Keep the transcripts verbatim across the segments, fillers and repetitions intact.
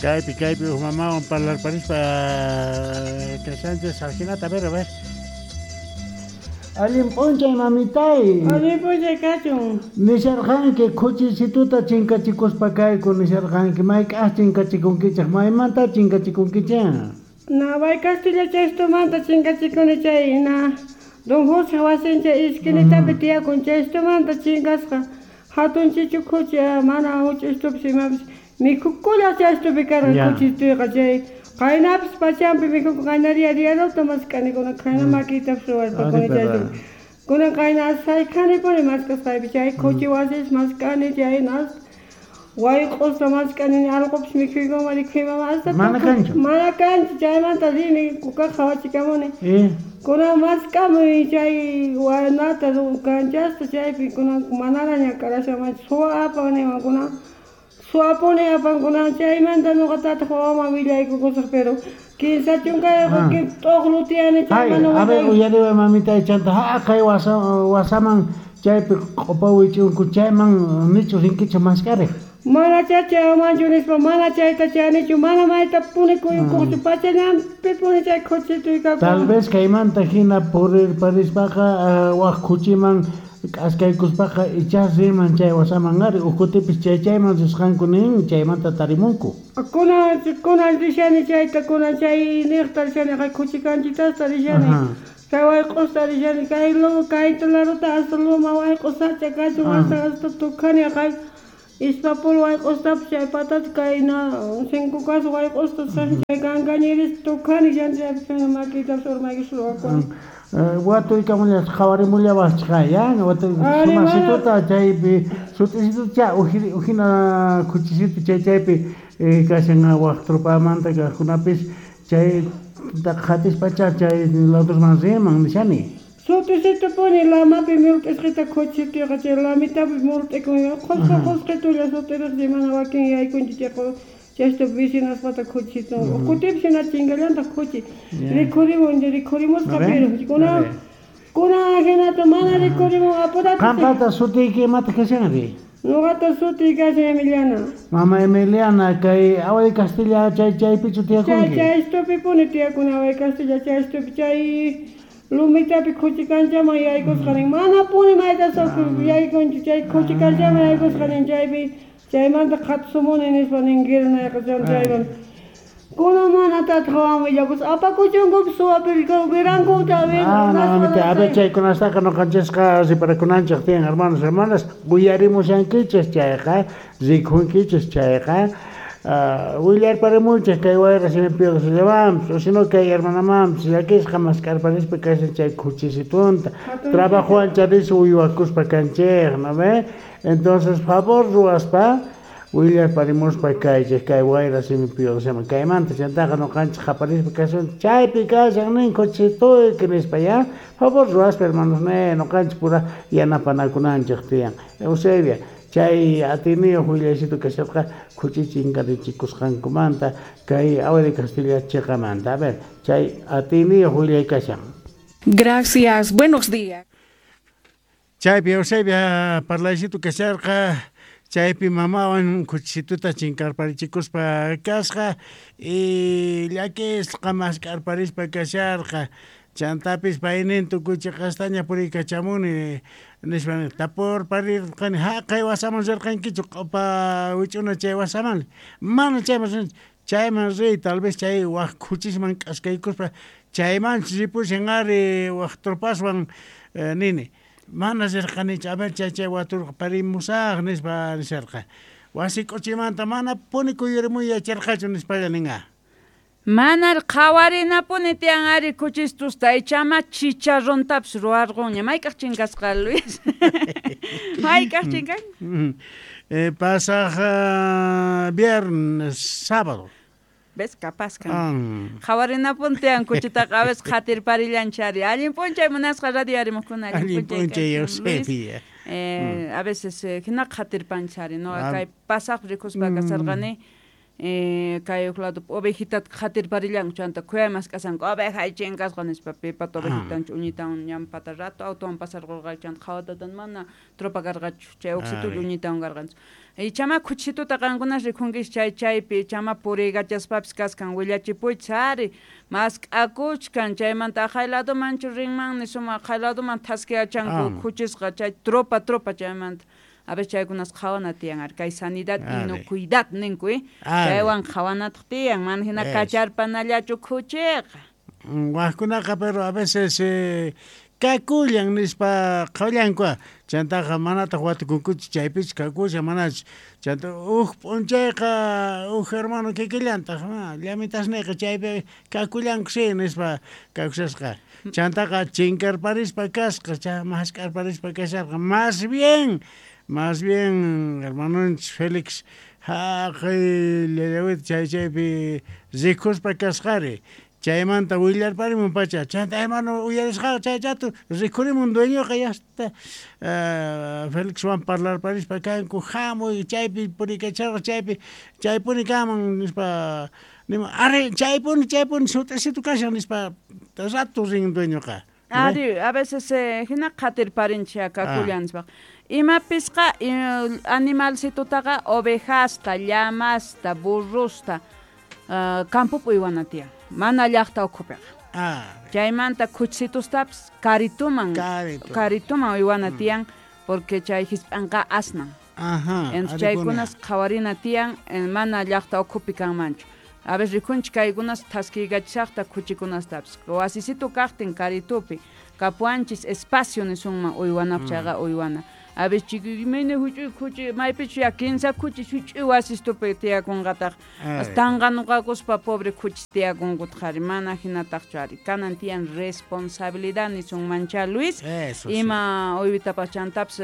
Kaypi kaypi uj mamawan parlarparispa kashanchis ajinata, a ver, a ver. Allin p'unchay mamitay. Allin p'unchay kachun. Nisharqanki khuchisituta chinkachikuspa kayku nisharqanki, mayk'aj chinkachikunkichej, maymanta chinkachikunkichej? Na way Castilla chaystumanta chinkachikuni chay na Don José wasincha isquinitapi tiyakun chaystumanta chinkasqa hatun chichu khuchi mana huch'istupis imapis mikhukulla chaystupi karqa khuchistuyqa chay qaynapis pachampi mikhuku qaynaria diaruta mask'ani kunan qayna makiytapis ruwarpakuni chaystupi kunan qayna saykhanipuni mask'asqaypi chay khuchi wasis mask'ani chay nas wayq'usta mask'ani allqupis mikhuykuman rikhuyman hasta mana kanchu mana kanchu chaymanta rini kukaq qhawachikamuni kunan mask'amuy chay wanata kanchasta chaypi kunan manara ñak'arashamanchu suwa apan niwan kunan suwapuni apan kunan chaymanta ñuqatataq wawaman willaykukusaq pero kinsa chunkayuq t'uqlu tiyani chayman a ver uyariway mamitay chanta haqay wasa wasaman chaypi q'upa wich'unku chayman nichu rinkichu mask'ariq mana chachamanchu nispa mana chayta chanichu mana maytapuni kuyukuqchu pachallanpipuni chay khuchituy kakun. Tal vez kaymanta hina purirparispaqa wak khuchiman k'askaykuspaqa ichas rinman chay wasaman ari uj kutipis chay chayman risqanku nin chaymanta tarimunku. Kunan kunan rishani chayta kunan chay niqta rishani kay khuchi kanchitasta rishani kay wayq'usta rishani kay kayta laruta hasta loma wayq'u sacha kachun hasta hasta tukhani kay Ispapul wayq'ustapis chay patata kay na cinco kas wayq'usta chay kankañiris tukhani chaypi makiytapis urmaykus ruwakuwan. Watuykamullas qhawarimullawasqa ya watuy sumasituta chaypi sut'isitucha ujina khuchisitu chay chaypi kashan waq tropamanta kaqkunapis chayta qhatispacha chay ladusman rinman nishani. Sut'isitupuni lamapi mult'isqita khuchisituyqa chay lamitapi mult'ikun qhusqa qhusqitulla sut'iriqsi mana wakin yaykunchu chay chaystupi vecinaspata khuchisitun kutipis hina chinkallantaq khuchi rikhurimun rikhurimusqa pero kunan kunan hinata mana rikhurimun apurata. Qampata sutiyki imataq kashanri? Ñuqata sutiy kashan Emiliana. Mama Emiliana kay Agua de Castilla chay chaypichu tiyakunki? Chay chaystupipuni tiyakuni Agua de Castilla chaystupi chay lumitapi khuchi kanchaman yaykusqa nin manapuni mayta yaykunchu chay khuchi kanchaman yaykusqa nin chaypi chaymanta qhatusumuni nispa nin guirnayqa chayman kunan mana tataq wawan willakusqa apakuchunkupis suwapi wirankuta. Ah, mamita, a ver chaykunastaqa ñuqanchisqa riparakunanchik tiyan hermanos hermanas uyarimushankichis chayqa rikhunkichis chayqa willarparimunchik kay wayra simipi llamanpis o sino kay hermanamanpis llakisqa mask'arparispa kashan chay khuchisitunta trabajowan charis uywakuspa kanchik, ¿no ve? Entonces favor ruwaspa willarparimuspa kaychik kay wayra simipi llama kaymanta chantaqa ñuqanchik qaparispa kashan chaypi kashan nin khuchisituyki nispa ya favor ruwaspa hermanos ne ñuqanchik pura yanapanakunanchik tiyan. Eusebia chay atiniyuq willaysitu kasharqa khuchi chinkarichikusqankumanta kay Agua de Castilla chiqamanta. A ver, chay atiniyuq willay kashan. Gracias, buenos días. Chaypi Eusebia parlaysitu kasharqa chaypi mamawan khuchisituta chinkarparichikuspa kasqa y llakisqa mask'arparispa kasharqa chantapis paynin tukuy chiqastaña puriykachamuni nispa tapurparirqani haqay wasaman rirqankichu q'upa wich'una chay wasaman mana chayman chayman riy tal vez chay waq khuchisman k'askaykuspa chaymanchus ripushan ari waq tropaswan nini mana rirqanichu a ver chay chay waturparimusaq nispa nisharqa wasi k'uchimanta mana puni kuyurimuy yacharqachu nispalla ninqa. Manar qhawarinapuni tiyan ari khuchistusta ichama chicharrontapis ruwarqunña mayk'aq chinkasqa Luis mayk'aq chinkan? Pasaq viernes sábado. ¿Ves? Capaz kan. Qhawarinapuni tiyan khuchitaqa a veces qhatirparillanchari. Allin p'unchay munasqa radio arimuqkuna allin p'unchay Eusebia. Eh, a veces hina qhatirpanchari, no? Kay pasaq rikuspa kasarqani Eh, kay uj lado ovejitata qhatirparillanku chanta khuyay mask'asanku oveja chinkasqa nispa pipata ovejitanchu uñitawan ñanpata rato autowan pasarqurqa chanta qhawatatan mana tropa karqachu chay uqsitulla uñitawan karqanchu. Ichama khuchituta qankunas rikhunkichis chay chaypi ichama puriykachaspapis kaskan willachipuychis ari mask'akuchkan chaymanta aqhay ladomanchu rinmanni sumaq aqhay ladoman thaskiyachanku khuchisqa chay tropa tropa chaymanta. A veces chaykunas qhawana tiyan ari kay sanidad inocuidad ninku eh chaywan qhawanataq tiyan mana hina kacharpanallachu khuchiqa. Wajkunaqa pero a veces eh, kakullan nispa qhawllanku chantaqa manataq watukunkuchu chaypichu kakushan manachu chanta uj p'unchayqa uj hermano kikillantaq llamitasniyqa chaypi kakullanku si nispa kakushasqa chantaqa chinkarparispa kasqa cha mask'arparispa kasharqa más bien más bien hermanonchis Félix haqay llallawita chay chaypi rikuspa kasqari chaymanta willarparimun pacha chanta hermano uyarisqaqa chay chato rikhurimun dueñoqa ya está uh, Felixwan parlarparispa kanku hamuy chaypi purikacharqa chaypi chaypuni kanman nispa nima ari chaypuni chaypuni sut'isitu kashan nispa rato rin dueñoqa. Ari a veces eh, hina qhatirparinchik kakullan nispaqa imapisqa animalcitutaqa ovejasta, llamasta, burrusta uh, campopi uywana tiyan mana llaqta ukhupiqa. Ah. Chaymanta khuchitustapis karituman karituman uywana tiyan porque chay hisp'anqa asnan. Ajá. Entonces chaykunas qhawarina tiyan mana llaqta ukhupi kanmanchu. A veces rikhunchik kaykunas thaskiykachishaqta khuchikunastapis wasisitu kaqtin karitupi kapuanchis espacio nisunman uywanapaq chayqa uywana. A veces chikimayna huch'uy khuchi maypichu ya kinsa khuchi huch'uy wasistupi tiyakunqataq tanqanuqakuspa pobre khuchis tiyakunkutaq ari mana hinataqchu ari kanan tiyan responsabilidad nisunmancha Luis. Eso, ima sí. Uywitapas chantapis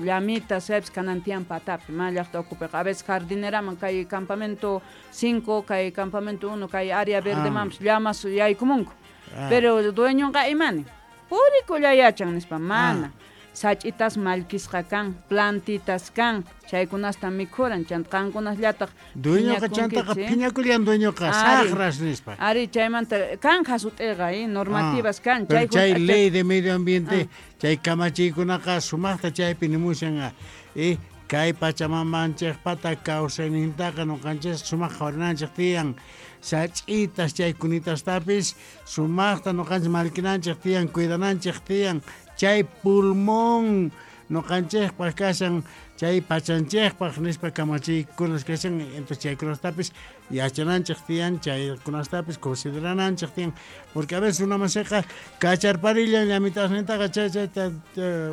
llamitas chaypis kanan tiyan patapi mana llaqta ukhupiqa a veces jardineraman kay campamento cinco kay campamento uno kay área verdemanpis llamas yaykumunku ah. Pero dueñonqa imani purikulla yachan nispa mana ah. Sach'itas mallkisqa kan, plantitas kan, chaykunasta mikhuran, chanta qankunasllataj dueñoqa chantaqa phiñakullan dueñoqa saqras nispa. Ari chaymanta kan hasut'iqa, eh, normativas kan. Chay, chay ley de medio ambiente, ah. Chay kamachiykunaqa sumaqta chaypi nimushan, eh, kay pachamamanchikpata kawsaynintaqa nuqanchis sumaq qhawarinanchik tiyan sach'itas chay kunitastapis sumaqta nuqanchis mallkinanchik tiyan cuidananchik tiyan chay pulmón nuqanchikpaq kashan chay pachanchikpaq nispa kamachiykunas kashan entonces chaykunastapis yachananchik tiyan chaykunastapis considerananchik tiyan porque a veces una masiqa kacharparillan llamitasnintaqa chay chayta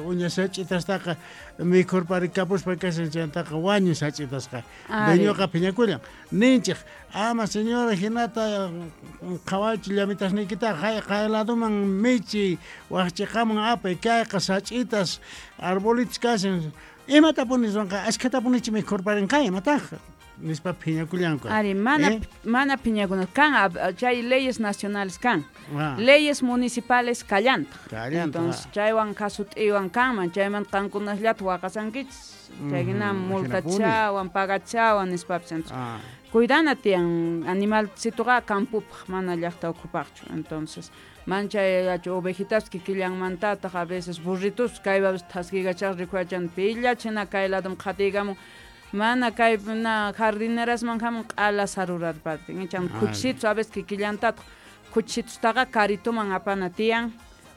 uña sach'itastaqa mikhurparikapuspa kashan chaytaqa wañun sach'itasqa dueñoqa phiñakullan ninchik ama señora hinata qhawaychu llamitasniykitaqa hay qay ladoman michi waqchiqaman apay kayqa sach'itas arbolitos kashan imatapuni ruwanqa ashkhatapunichi mikhurparinqa imataq nispa phiñakullanku. Ari mana ¿Eh? Mana phiñakuna kan chay leyes nacionales kan ah. Leyes municipales kallantaq. Kallantaq. Entonces chaywan kasut'iwan kanman chayman qankunasllata waqasankichis chay hina multachawan pagachawan nispapis entonces ah. Cuidana tiyan animalcituqa campopaq mana llaqta ukhupaqchu entonces manchay ovejitas kikillanmantataq a veces burritos kaypapis thaskiykachaq rikhuachan pillachina kay ladom qhatiykamun mana kay na jardinerasman hamun q'ala sarurarpatin ichan khuchisitus a veces kikillantataq khuchitustaqa karituman apana tiyan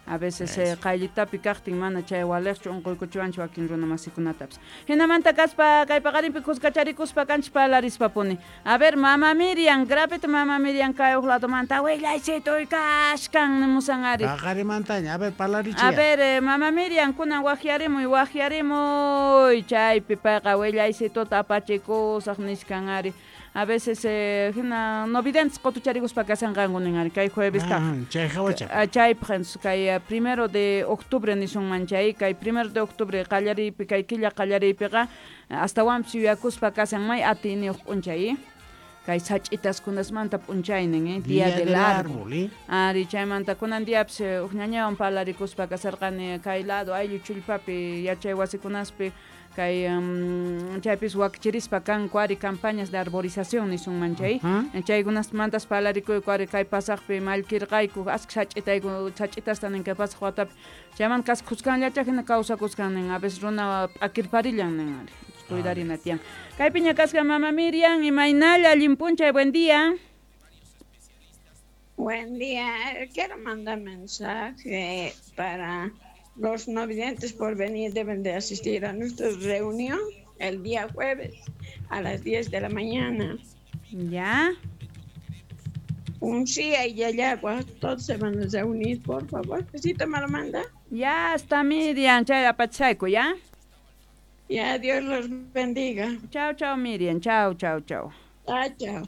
a veces eh, qayllitapi kaqtin mana chay waliqchu unquykuchiwanchik wakin runa masikunatapis hinamanta kaspa kay paqarinpi kuskacharikuspa kanchis parlarispapuni a ver mama Miriam grapita mama Miriam kay uj ladomanta willaysituy kashkan nimusan ari paqarimantaña a ver parlarichiy a ver eh, mama Miriam kunan waqyarimuy waqyarimuy chaypi payqa willaysituta apachikusaq nishkan ari a veces eh, hina no videntes qotucharikuspa kasanqanku nin ari kay jueves kaq ah, chay hawacha chaypaq kay primero de octubre nisunman chay kay primero de octubre qallariypi kay killa qallariypiqa astawanpis yuyakuspa kasan may atiyniyuq p'unchay kay sach'itaskunasmanta p'unchaynin eh, día, día del, del árbol, árbol eh? Ari chaymanta kunan diapis uj ñañawan parlarikuspa kasarqani kay lado ayllu chullpapi yachay wasikunaspi Kay um, chaypis wakichirispa kanku ari campañas de arborización nisunman chay. Chaykunasmantas parlarikuyku ari kay pasaqpi mallkirqayku askha sach'itayku sach'itasta nin kay pasaq watapi. Chaymanta kas khuskanllacha hina kawsakuskan nin a veces runa p'akirparillan nin ari. Cuidarina tiyan. Kaypiña kasqa mama Miriam, imaynalla allin p'unchay, buen día. Buen día, quiero mandar mensaje para los no videntes por venir, deben de asistir a nuestra reunión el día jueves a las diez de la mañana. ¿Ya? Un sí y Yayagua, todos se van a reunir, por favor. ¿Sí te me lo manda? Ya está Miriam, chay apachayku, ¿ya? Ya, Dios los bendiga. Chao, chao Miriam, chao, chao, chao. Chao, chao.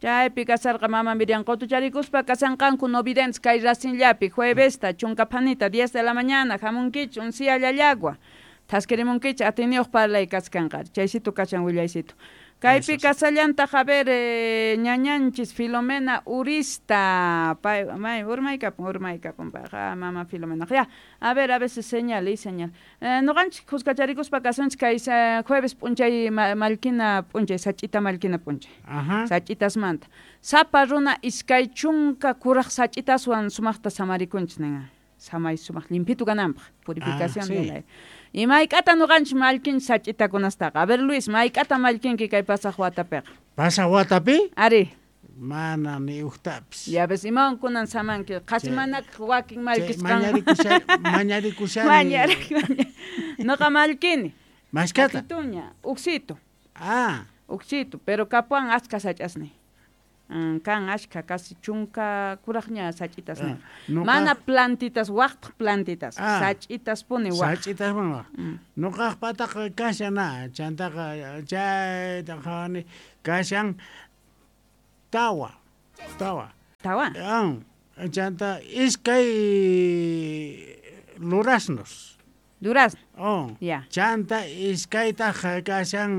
Chaypi kasarqa mama Miriam qutucharikuspa kasanqanku no videntes kay rasinllapi juevesta chunka phanita diez de la mañana hamunkichik uncia Llallagua thaskirimunkichik atiniyuq parlay kaskanqa chaysitu kashan willaysitu kaypi kasallantaq a ver eh, ñañanchis Filomena Urista pay may urmaykapun urmaykapun payqa mama Filomena ya a ver a veces señal y señal eh, nuqanchik khuskacharikuspa kasunchik kay jueves p'unchay ma, mallkina p'unchay sach'ita mallkina p'unchay sach'itasmanta sapa runa iskay chunka kuraq sach'itaswan sumaqta samarikunchik nin samay sumaq limpitu kananpaq purificación ah, sí. Del aire. Y mayk'ata nuqanchik mallkinchik sach'itakunastaqa. A ver Luis, mayk'ata mallkinki kay pasaq watapiqa? Pasaq watapi? Ari. Mana ni uqtapis. Ya ves, imawan kunan samanki? Qhasi manakaq wakin mallkisqan. Mañarikushani. Mañarik. Nuqa mallkini. Mashkata? Tuña, uqsitu. Ah. Uqsitu, pero kapuwan achka sach'asni. Kan achka casi chunka kuraqña sach'itas ah, mana plantitas waqtaq plantitas ah, sach'itas puni waq sach'itas puni waq mm. Nuqaqpataqa kashan na chantaqa chayta qhawani kashan tawa tawa tawa ah, chanta iskay duraznos durazno oh ya chanta iskaytaq kashan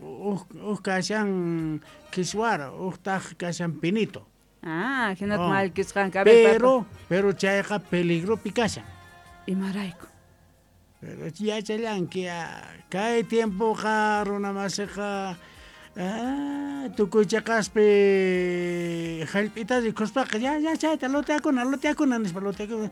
uj uj kashan kiswara uqtaq kashan pinito. Ah, hinata oh. Mallkisqanka. Pero pero chayqa peligropi kashan. Imarayku? Pero yachallanki kay tiempoqa runa masiqa ah, tukuy chaqaspi hallp'ita rikuspaqa ya ya chayta loteakuna loteakuna nispa loteakuna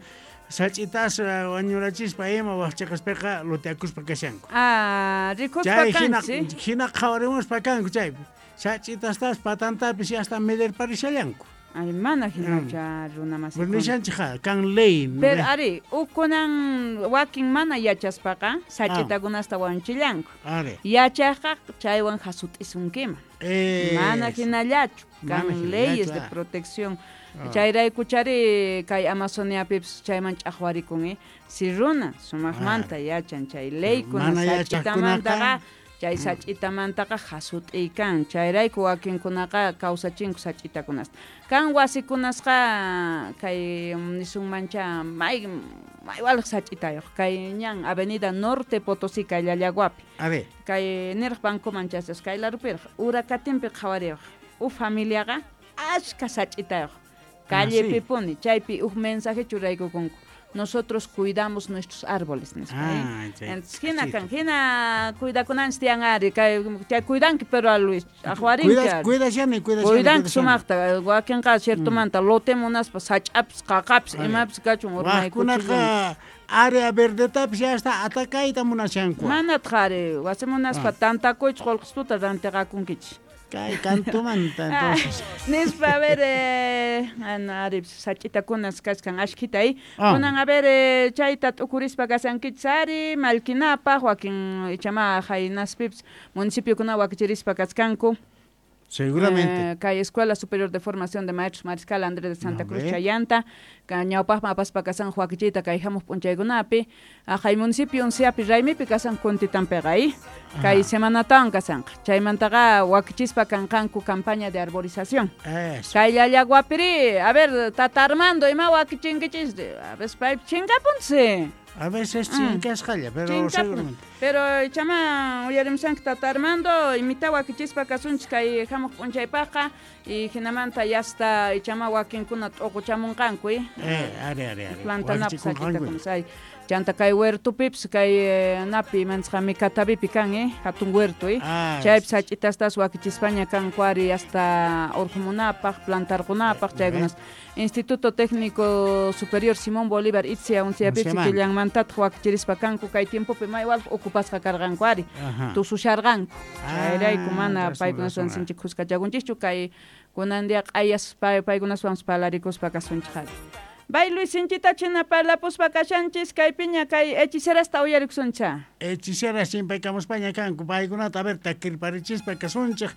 sach'itas wañurachispa ima waqchaqaspiqa loteakuspa kashanku. Ah, rikuspa kanchik. Hina qhawarimuspa kanku chaypi. Sach'itastas patantapis hasta medirparishallanku. Ari mana hinacha runa masikuna. Nishanchikqa kan ley. Pero ari ukunan wakin mana yachaspaqa sach'itakunasta wañuchillanku. Ari. Yachaqqa chaywan hasut'isunkiman. Eh, mana hinallachu kan leyes de protección. Chayraykuchari kay Amazoniapipis chayman ch'aqwarikun eh. Si runa sumaqmanta yachan chay leykuna sach'itamantaqa chay sach'itamantaqa hasut'ikan chayrayku wakinkunaqa kawsachinku sach'itakunasta kan wasikunasqa kay nisunmancha may maywalaq sach'itayuq kay ñan Avenida Norte Potosí kay Llallaguapi kay niraq bancoman chasas kay larupiraq Uracatinpi qhawariyuq uj familiaqa achka sach'itayuq callepi puni chaypi uj mensaje churaykukunku nosotros cuidamos nuestros árboles nispa. Ah, entonces hina kan hina cuidakunanchik tiyan ari kay chay cuidanki pero a Luis aqwarinki cuidashani cuidashani cuidanki sumaqta wakinqa ciertomanta lote munaspa sach'apis qaqapis imapis kachun urmaykunaqa área verdetapis ya hasta atakayta munashanku manataq ari wasi munaspa tantakuychik qullqisuta rantiqakunkichik Kay kantumanta entonces. Nispa a ver eh, ari sach'itakunas kachkan ashkhita eh. Kunan a ver eh, chayta t'ukurispa kasankichis ari mallkinapaq wakin ichama haynaspipis municipiokunawan wakichirispa kachkanku. Seguramente. Eh, kay Escuela Superior de Formación de Maestros Mariscal Andrés de Santa Cruz Chayanta, ñawpaqman apaspa kasan wakichiyta kay hamuq p'unchaykunapi, kay municipio Unciapi raymipi kasan kuntitanpiqa eh. Kay semanatawan kasanqa. Chaymantaqa wakichispa kanqanku campaña de arborización. Eso. Kay Llallaguapiri, a ver, tata Armando, ima wakichinkichis, a ver, paypi chinkapunchis. A veces chinkasqalla, pero seguramente. Pero chama uyarimsanki tata Armando, imita wakichispa kasunchik kay hamuq p'unchaypaqqa y hinamanta yasta chama wakinkuna t'uquchamunqanku eh. Eh, ari ari ari. Plantanapaq sach'itakunas ay. Chanta kay huertupipis kay napi manchaqami Catavipi kan eh, hatun huerto eh. Ah, Chaypi sach'itastas wakichispaña kanku ari hasta urqumunapaq, plantarqunapaq chaykunas. Instituto Técnico Superior Simón Bolívar Itzia unsiyapipis Unciamanta. killanmantataq wakichirispa kanku kay tiempopi may walq ocupasqa karqanku ari. Ajá. Tususharqanku. Ah, Chayrayku mana razón, paykunaswan razón, ah. sinchi khuskachakunchikchu kay kunan día q'ayas pay paykunaswan parlarikuspa kasunchik ari. Bay Luis sinchita china parlapuspa kashanchis kaypiña kay hechicerasta uyarikusuncha. Hechiceras chimpaykamuspaña kanku paykunata a ver takirparichispa kasunchik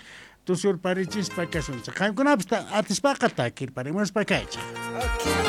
tusurparichispa kasunchik qamkunapis ta- atispaqa takirparimuspa kaychik.